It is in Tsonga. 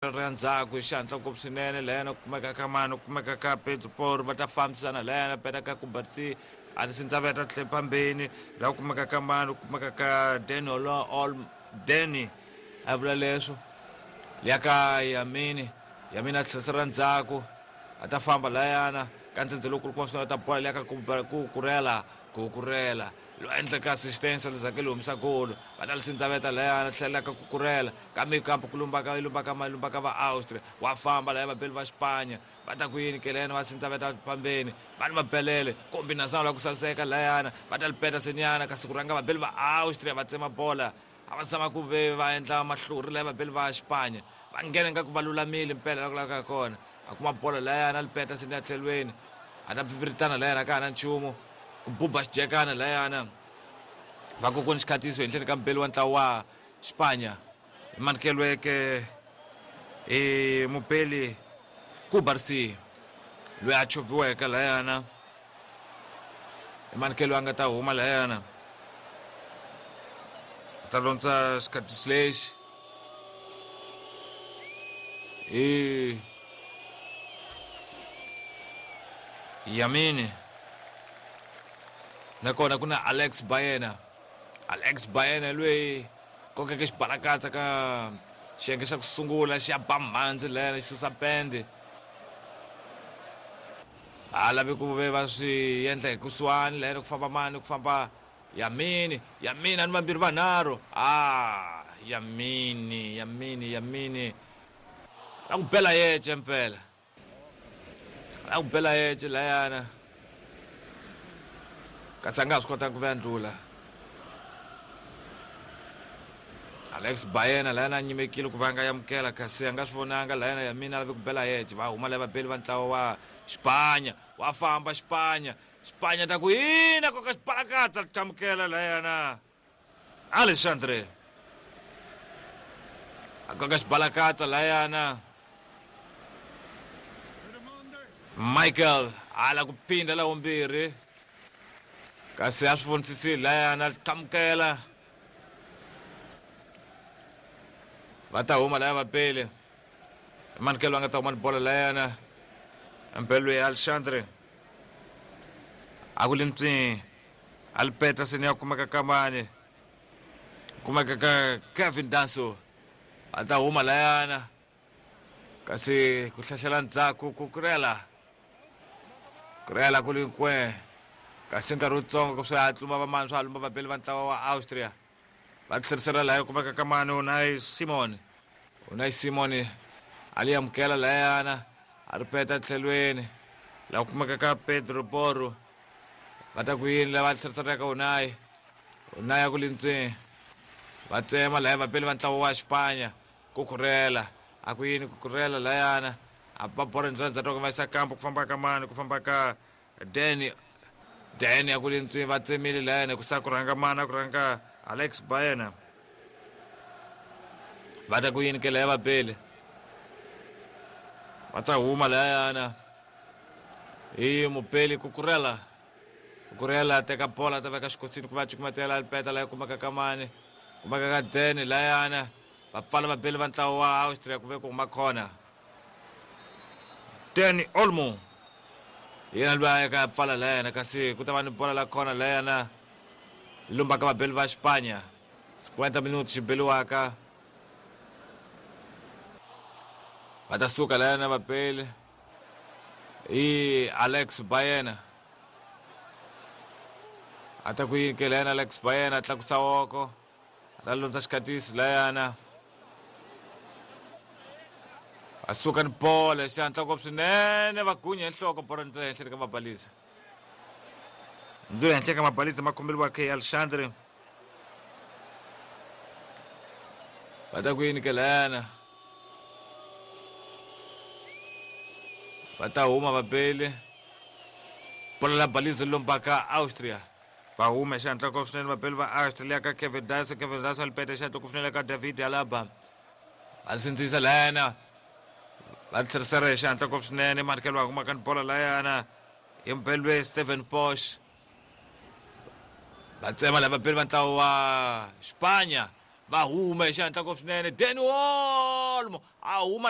Ra ndzhaku hi xihatla ngopfu swinene layana ku kumeka ka mani ku kumeka ka Pedro Porro va ta fambisana layana peta ka Cubarsí a ti sindzaveta tlhe phambeni laha ku kumeka ka mani ku kumeka ka Dani Ol Dani a vula leswo liya ka Yamini Yamini a tlherisela ndzhaku a ta famba layana ka ndzhendze lowukulu kuma swinene ta bola liya ka ku kurela ku kurela Lo endlaka assistance lezake li humesa golo va ta li sindzaveta layana tlhela ka kukurela kambe kambe ku lumbaka yi lumbaka ma lumbaka va Austria wa famba laya vabeli va Xipanya va ta ku yini kelena va sindzaveta pambeni va ni mabelele kombinasano la ku saseka layana va ta li peta senyana kasi ku rhanga vabeli va Austria va tsema bola a va zama ku ve va endla mahlori laya vabeli va Xipanya va nghena nga ku va lulamile mpela la ku lavekaka kona a kuma bolo layana a li peta seni ya tlhelweni a ta pfipfiritana layana ka ha na nchumu ku buba xijekana layana va ku ku ni xikhatiso henhleni ka mubeli wa ntlawa wa Xipanya i manikelweke i mubeli Cubarsí loyi a chovhiweke layana i manikelo a nga ta huma layana a ta londza xikhatiso lexi i Yamini nakona ku na Alex Baena Alex Baena loyi kokeke xibalakatsa ka xiyenge xa ku sungula xi ya ba mhandzi layana xi susa pende a lavi ku ve va swi endla hi kusuhani layana ku famba mani ku famba Yamini Yamini a ni vambirhi vanharhu a Yamini Yamini Yamini la ku bela yece mpela la ku bela yece layana kasi a nga ha swi kotanga ku ve a ndlula Alex Baena layana a nyimekile ku va a nga amukela kasi a nga swi vonanga layana Yamini a lave ku bela yece va huma laya vabeli va ntlawa wa Xipanya wa famba Xipanya Xipanya ta ku ina koka xibalakatsa tlhamukela layana Alexandre a koka xibalakatsa layana Michael ala ku phinda la vumbirhi kasi a swi vonisisile layana tlhamukela va ta huma laya vapele manikelo a nga ta huma ni bolo layana mpelo ya Alexandre a ku limtswi a li peta seni ya kumeka ka mani kumeka ka Kevin Danso a ta huma layana kasi ku hlahlela ndzhaku ku kurela kurela ku li nkwe kasi nkarhi wutsongo ku swi hatluma vamani swa lumba vabeli va ntlawa wa Austria va tlherisela laya kumeka ka mani Unai Simon Unai Simon a li amukela layana a ri peta tlhelweni la kumeka ka Pedro Porro va ta ku yini lava tlherisela ka Unai Unai a ku lintswini va tsema laya vabeli va ntlawa wa Xipanya ku khurela a ku yini ku khurela layana a va bora ndlela ndzhaku va yisa kampo ku famba ka mani ku famba ka Danny Danny a ku lintswini va tsemile layana ku sa ku rhanga mani a ku rhanga Alex Baena va ta ku yini ke laya vabeli va ta huma layana hi mubeli kukurela kukurela teka bola ta veka xikosini ku va cukumetela peta laya kumeka ka mani kumeka ka Danny layana va pfala vabeli va ntlawa wa Austria ku ve ku huma khona Danny Olmo yena loyi a yaka pfala layana kasi ku ta va ni bola la khona layana lumbaka vabeli va Xipanya 50 minuti xi beliwaka va ta suka layana vabeli hi Alex Baena a ta ku yini ke layana Alex Baena a tlakusa woko a ta lundza xikatisi layana a suka ni bolo hi xihatla ngopfu swinene va gunya hi nhloko bolo ndlela henhla ka mabalisa ndlela henhla ka mabalisa ma khombeliwa ke Alexandre va ta ku yini ke layana va ta huma vabeli bolo la balisa lombaka Austria va huma hi xihatla ngopfu swinene vabeli va Australia ka Kevin Dyson Kevin Dyson lipeta xihatla ku funela ka David Alaba va sindzisa layana va tlherisela hi xihatla ngopfu swinene Michael va kumaka ni bola layana hi mubeli Stephen Posh va tsema lava vabeli va ntlawa wa Xipanya Va huma hi xihatla ngopfu swinene. Dani Olmo a huma.